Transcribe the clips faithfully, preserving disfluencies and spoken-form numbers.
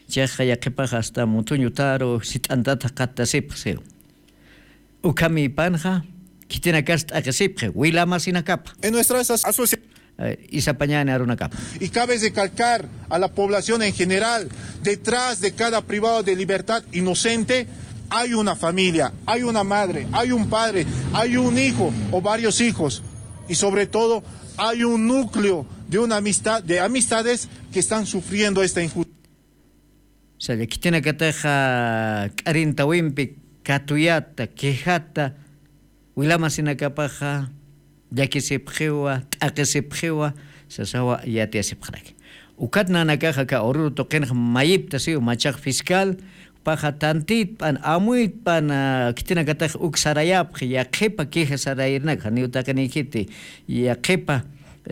Chiqaxa yaqhipaxa hasta mutuñutaru sit'antat jaqattasipxi siw. Ukhamipanxa khitinakas t'aqhisipxi wilamasinakapa. En nuestras asociaciones. Isapañani arunakapa. Y cabe recalcar a la población en general, detrás de cada privado de libertad inocente hay una familia, hay una madre, hay un padre, hay un hijo o varios hijos. Y sobre todo, hay un núcleo de una amistad, de amistades que están sufriendo esta injusticia. Saya khitinakataxa k'arintawimpi katuyata quejata wilamasinakapaxa llakisipxiwa t'aqisipxiwa sasawa yatiyasipxaraki. Ukat nanakaxa ka ururu tuqinxa mayipta siw machax fiscal paxa tantitpan amuytpan khitinakatax uk sarayapxi yaqhipa queja sarayirnak janiw taqinikhiti yaqhipa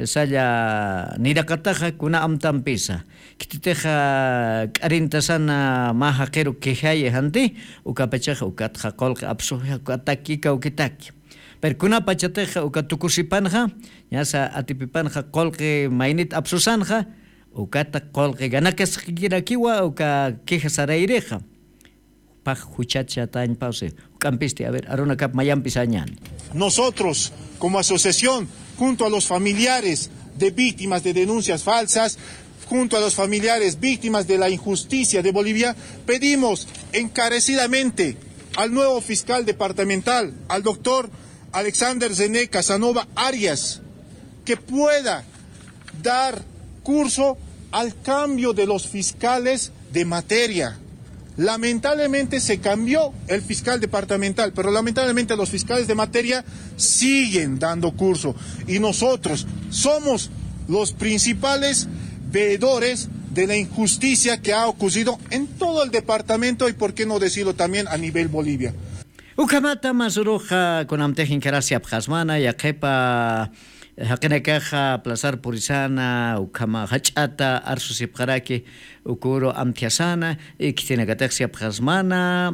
salla niraqataxa kuna amtampisa khititixa k'arintasana mä jaqiru quejayi janti ukapachaxa ukatxa qulqi apsuxi ukatakki kawkitaki. Pero kunapachatixa uka tukusipanxa ñasa atipipanxa qulqi maynit apsusanxa ukata qulqi ganakasqikirakiwa uka queja sarayrixa. Pax juchachatañpawsi juk'ampisti a ver arunakap mayampisañan. Nosotros como asociación junto a los familiares de víctimas de denuncias falsas, junto a los familiares víctimas de la injusticia de Bolivia, pedimos encarecidamente al nuevo fiscal departamental, al doctor Alexander René Casanova Arias, que pueda dar curso al cambio de los fiscales de materia. Lamentablemente se cambió el fiscal departamental, pero lamentablemente los fiscales de materia siguen dando curso y nosotros somos los principales veedores de la injusticia que ha ocurrido en todo el departamento y por qué no decirlo también a nivel Bolivia. Ukhamata masuruxa kunamtix inkarasiapxasmana yaqhipa jaqinakaxa plazar purisana ukhama jach'ata arsusipxaraki ukuru amthiasana y khitinakatix siapxasmana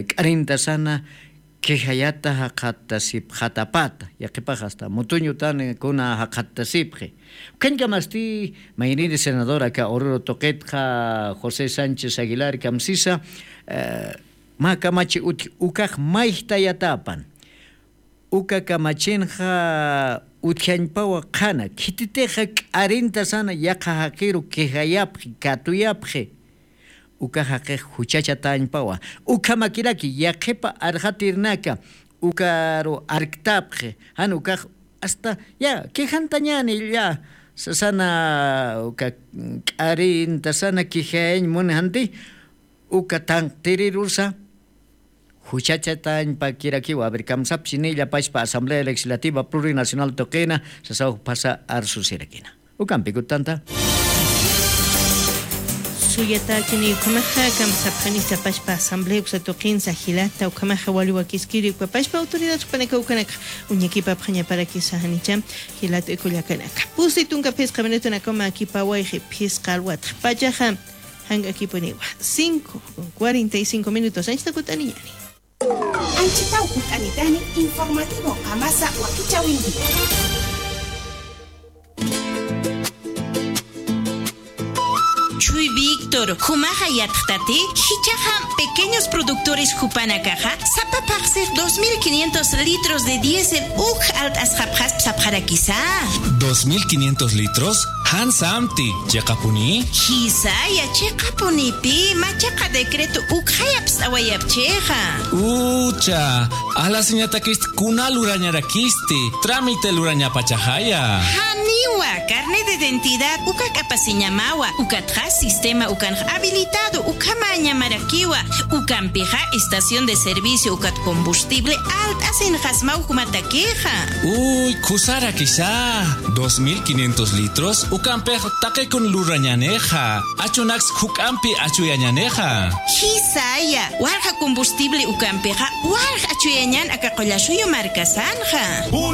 k'arintasana quejayata jaqattasipxatapata yaqhipax hasta mutuñutan kuna jaqattasipxi. Ukhañkamasti mayniri senador aka ururu tuqitxa josé sánchez aguilar kamsisa mä kamachi utji ukax mayjtayatapan uka kamachinxa utjañpawa qhana khititixa k'arintasana yaqha jaqiru quejayapxi katuyapxi uka jaqix juchachatañpawa ukhamakiraki yaqhipa arxatirnaka ukaru arktapxi jan ukax hasta ya quejantañani ya sasana uka k'arintasana quejayañ muni janti uka tanqtirirusa juchachatañpakirakiwa a ver kamsapchinilla pachpa asamblea legislativa plurinacional tuqina sasaw phasa arsusirakina ukampikutanta. Suyatachini ukhamaxa kamsapxanisa pachpa asamblea uksa tuqinsa jilata ukhamaxa waliwakiskiri ukapachpa autoridad jupanaka ukanaka uñakipapxañaparakisa janicha jilata ikullakanaka pusi tunka phisqa minutunakama kipawayxi phisqa alwatxa pachaxa jank'akipuniwa cinco con cuarenta y cinco minutos anchita kut'aniñani. Anchitaw kut'anitani informativo qamasa wakichawinti. Chuy víctor jumaxa yatxtati jichaxa pequeños productores jupanakaxa sapa phaqsix dos mil quinientos litros de diésel uk alt'asxapxasp sapxarakisa. Dos mil quinientos litros jan samti chiqapuni. Jisaya chiqapunipi machaqa decreto ukxayapst'awayapchixa. Ucha alasiñatakist kuna lurañarakisti tramite lurañapachaxaya. Janiwa carne de identidad uka k'apasiñamawa ukatxa sistema ukanx habilitado ukhamañamarakiwa. Ukampixa estación de servicio ukat combustible alt'asinxasmaw jumatakixa. Uy khusarakisa dos mil quinientos litros ukampix taqikun lurañanixa. Achunaks juk'ampi achuyañanixa. Jisaya walja combustible ukampixa walja achuyañan aka qullasuyu markasanxa.